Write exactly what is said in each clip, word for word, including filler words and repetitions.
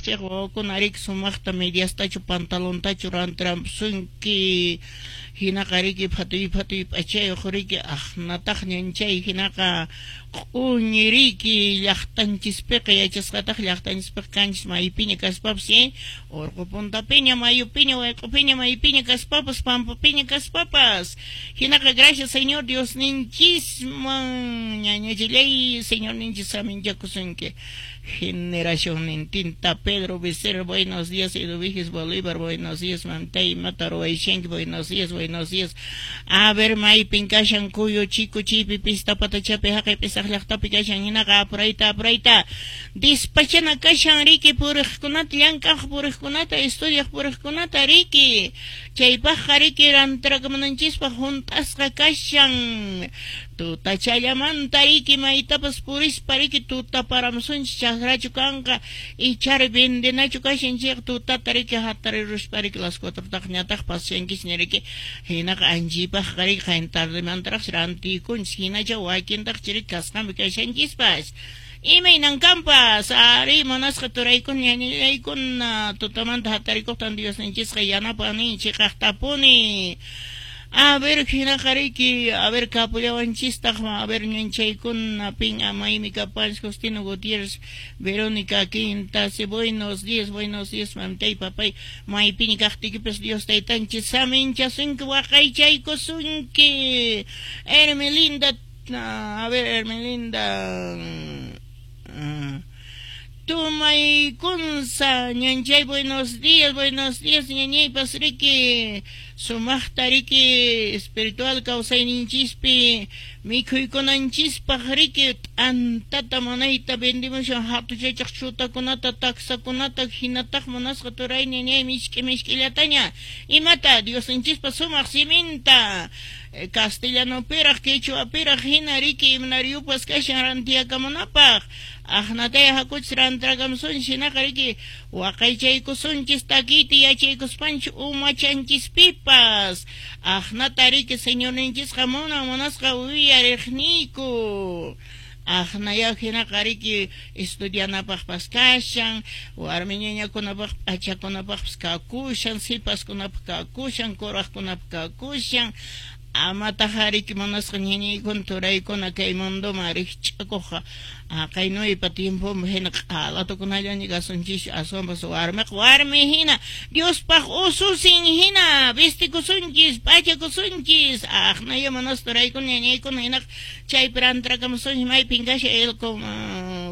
chayqa wawakuna riki sumaqta mediastachu pantalontachu rantirampusunki hinaqa riki phatuy phatuy p'achayuq riki aqnataq ñanchay hinaqa q'uñi riki llaqtanchispiqa yachasqataq llaqtanchispiqa kanchis maypiña kaspapas eh urqu puntapiña mayupiña wayq'upiña maypiña kaspapas pampapiña kaspapas hinaqa gracias Señor Dios ninchisman ñañachillay Señor ninchis saminchakusunki generación nintinta. Pedro Becerra, buenos días. Eduviges Bolívar, buenos días. Mamtay imata ruwayshanki, buenos días, buenos días. A ver, maypin kashan Cuyo Chico chaypi pista patachapi haqay p'isaq llaqtapi kashan hinaqa apurayta apurayta dispachana kashan riki puriqkunata llank'aq puriqkunata estudiaq puriqkunata riki chaypaqqa riki rantirakamunanchispaq hunt'asqa kashan tutachallamanta riki maytapas purispa riki tuta paramusunchis chakrachu kanqa ichari vendenachu kashan chayqa tutata riki hatariruspa riki las cuatrotaq ñataq pasashankisña riki hinaqa anchipaqqa riki qayna tardemantaraqsi rantikunchis hinacha wakintaq riki kasqanpi kashanchispas imaynan kanpas ari munasqa turaykuna ñañallaykuna tutamanta hatarikuqtan Diosninchisqa yanapan chiqaqtapuni. A ver, hinaqa riki, a ver, kapullawanchistaq, a ver, ñanchaykuna, pin amaymi kapanchis, Justino Gutiérrez, Verónica Quintas, buenos días, buenos días, mamtay, papay, maypiña kaqtiykipas Dios taytanchis saminchasunki, waqaychaykusunki, Hermelinda, a ver, Hermelinda, Tumaykunsa, ñanchay, buenos días, buenos días, ñañaypas riki, sumaqta riki, espiritual kawsayninchispi, mikhuykunanchispaq riki, t'antata munayta vendimushan hatuchachaq chutakunata, taksakunata, hinataq munasqa turay ñañay mishk'i mishk'illataña, imata Diosninchispa sumaq siminta, castellanopiraq, quechuapiraq hina riki imanariyupas kashan rantiyakamunapaq, aqnataya hakuchis rantirakamusunchis hinaqa riki waqaychaykusunchis takiyta yachaykuspanchis umachanchispipas aqnata riki Señorninchisqa munan munasqa uyariqniyku aqnaya hinaqa riki estudianapaqpas kashan warmi ñañakunapaq p'achakunapaqpas kakushan sipaskunapaq kakushan kuraqkunapaq kakushan amataq riki munasqa ñañaykuna turaykuna kay mundoman rikch'akuqqa aqaynuypa tiempoman hina q'alatukunallaña kasunchis aswanpas warmiqa warmi hina Diospaq ususin hina vistikusunchis p'achakusunchis aqnaya munasqa turaykuna ñañaykuna hinaqa chaypi rantirakamusunchis maypin kashan el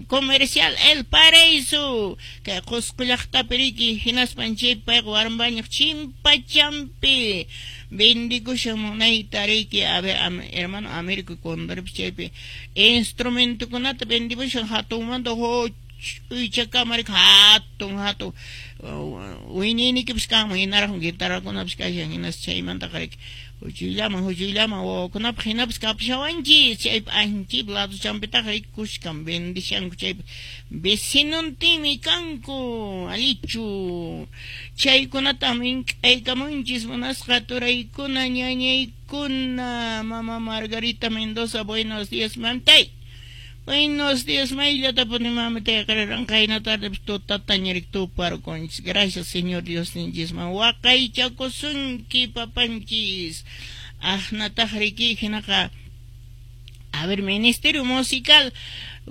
comercial El Paraíso kay Qusqu llaqtapi riki hinaspan chaypi payqa warmañuq chimpachampi vendikushan munayta riki a ver hermano Américo Condoripis chaypi instrumentokunata vendimushan hatunmanta huch'uychakama riki hatun hatun wiñaynikipas kanman hinaraqmi guitarrakunapas kashan hinas chaymantaqa riki huch'uyllaman huch'uyllaman wawakunapaq hinapas kapushawanchis chaypi anchaypi laduchampitaq riki kushkan vendishanku chaypi vecinontinmi kanku allichu chaykunata mink'aykamunchis munasqa turaykuna ñañaykuna mama Margarita Mendoza buenos días mamtay buenos días mayllatapuni mamitay qariran qayna tarde tutataña riki tuparqunchis gracias Señor Dios ninchisman waqaychakusunki papanchis aqnataq riki hinaqa a ver ministerio musical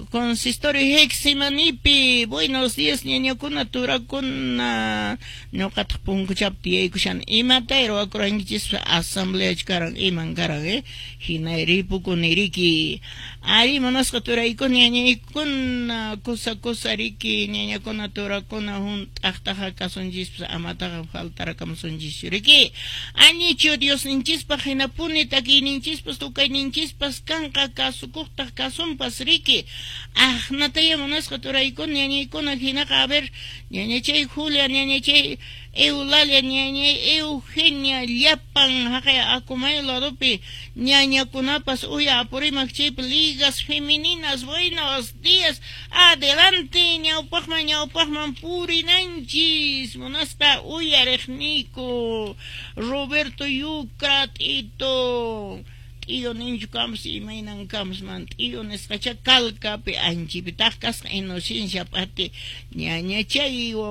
consistorio Heximanipi buenos días ñañakuna turakuna ñuqataq punkuchapi tiyaykushan imatay ruwakurankichis asambleachu karan iman karan eh hina ripukuni riki ari munasqa turaykuna ñañaykuna kusa kusa riki ñañakuna turakuna hunt'aqtaqa kasunchispas amataqa faltarakamusunchischu riki anichu Diosninchispaq hinapuni takiyninchispas tukayninchispas kanqa kasukuqtaq kasunpas riki aqnataya munasqa turaykuna ñañaykuna hinaqa a ver ñañachay Julia ñañachay Eulalia ñañay Eugenia llapan haqay Acomayo ladopi ñañakunapas uya Apurímac chaypi ligas femeninas buenos días adelante ñawpaqman ñawpaqman purinanchis munasqa uyariqniyku Roberto Yucra Tito t'iyu ninchu kanpas imaynan kanpas man t'iyu nisqacha Calcapi anchipitaq kasqa inocencia p'ati ñañachay.